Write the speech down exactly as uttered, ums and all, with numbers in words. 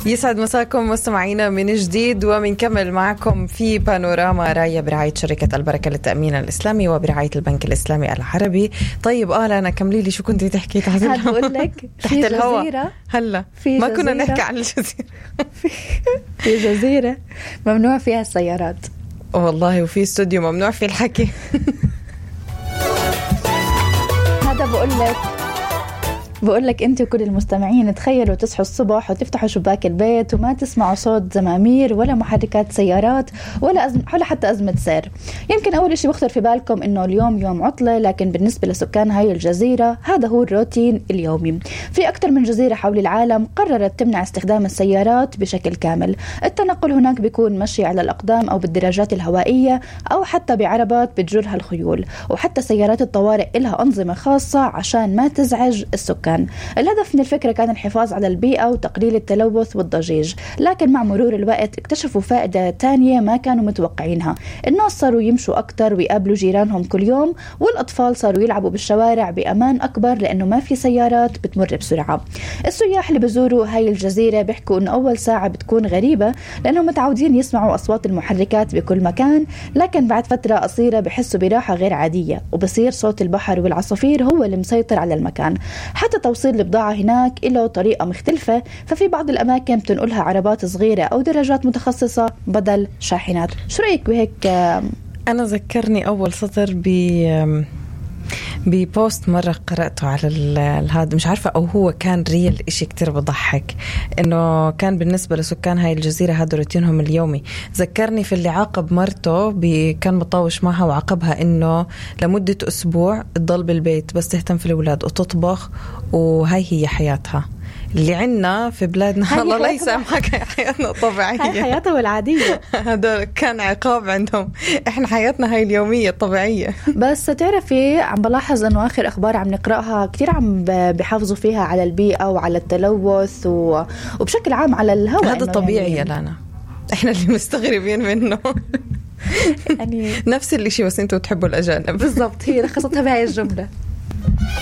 يسعد مساكم مستمعينا من جديد، ومنكمل معكم في بانوراما راية برعاية شركة البركة للتأمين الإسلامي وبرعاية البنك الإسلامي العربي. طيب آه لا أنا كملي لي شو كنتي تحكي تحت الهواء؟ هقول لك تحت الهواء هلا ما كنا نحكي عن الجزيرة. في جزيرة ممنوع فيها السيارات والله، وفي استوديو ممنوع فيه الحكي. هذا بقول لك بقول لك انت وكل المستمعين تخيلوا تصحوا الصبح وتفتحوا شباك البيت وما تسمعوا صوت زمامير ولا محركات سيارات ولا أزم... ولا حتى أزمة سير. يمكن أول شيء بخطر في بالكم إنه اليوم يوم عطلة، لكن بالنسبة لسكان هاي الجزيرة هذا هو الروتين اليومي. في أكثر من جزيرة حول العالم قررت تمنع استخدام السيارات بشكل كامل. التنقل هناك بيكون مشي على الأقدام أو بالدراجات الهوائية أو حتى بعربات بتجرها الخيول، وحتى سيارات الطوارئ إلها أنظمة خاصة عشان ما تزعج السكان. الهدف من الفكرة كان الحفاظ على البيئة وتقليل التلوث والضجيج، لكن مع مرور الوقت اكتشفوا فائدة تانية ما كانوا متوقعينها. الناس صاروا يمشوا أكتر ويقابلوا جيرانهم كل يوم، والأطفال صاروا يلعبوا بالشوارع بأمان أكبر لأنه ما في سيارات بتمر بسرعة. السياح اللي بزوروا هاي الجزيرة بيحكوا أنه أول ساعة بتكون غريبة لأنهم متعودين يسمعوا أصوات المحركات بكل مكان، لكن بعد فترة قصيرة بحسوا براحة غير عادية وبصير صوت البحر والعصافير هو اللي مسيطر على المكان. حتى توصيل البضاعة هناك له طريقة مختلفة، ففي بعض الأماكن بتنقلها عربات صغيرة أو دراجات متخصصة بدل شاحنات. شو رأيك بهيك؟ أنا ذكرني أول سطر ب ببوست مرة قرأته على هذا، مش عارفة أو هو كان ريال، إشي كتير بضحك إنه كان بالنسبة لسكان هاي الجزيرة هذا روتينهم اليومي. ذكرني في اللي عاقب مرته كان مطاوش معها وعاقبها إنه لمدة أسبوع تضل بالبيت بس تهتم في الأولاد وتطبخ، وهاي هي حياتها اللي عنا في بلادنا. الله لا يسامحك، حياتنا الطبيعية، هاي حياتها والعادية. هذا كان عقاب عندهم، احنا حياتنا هاي اليومية الطبيعية. بس تعرفي عم بلاحظ انه اخر اخبار عم نقرأها كتير عم بيحافظوا فيها على البيئة وعلى التلوث و... وبشكل عام على الهواء. هذا طبيعي يا لانا، احنا اللي مستغربين منه. يعني نفس الاشي بس انتوا تحبوا الأجانب. بالضبط، هي لخصتها بهاي الجملة.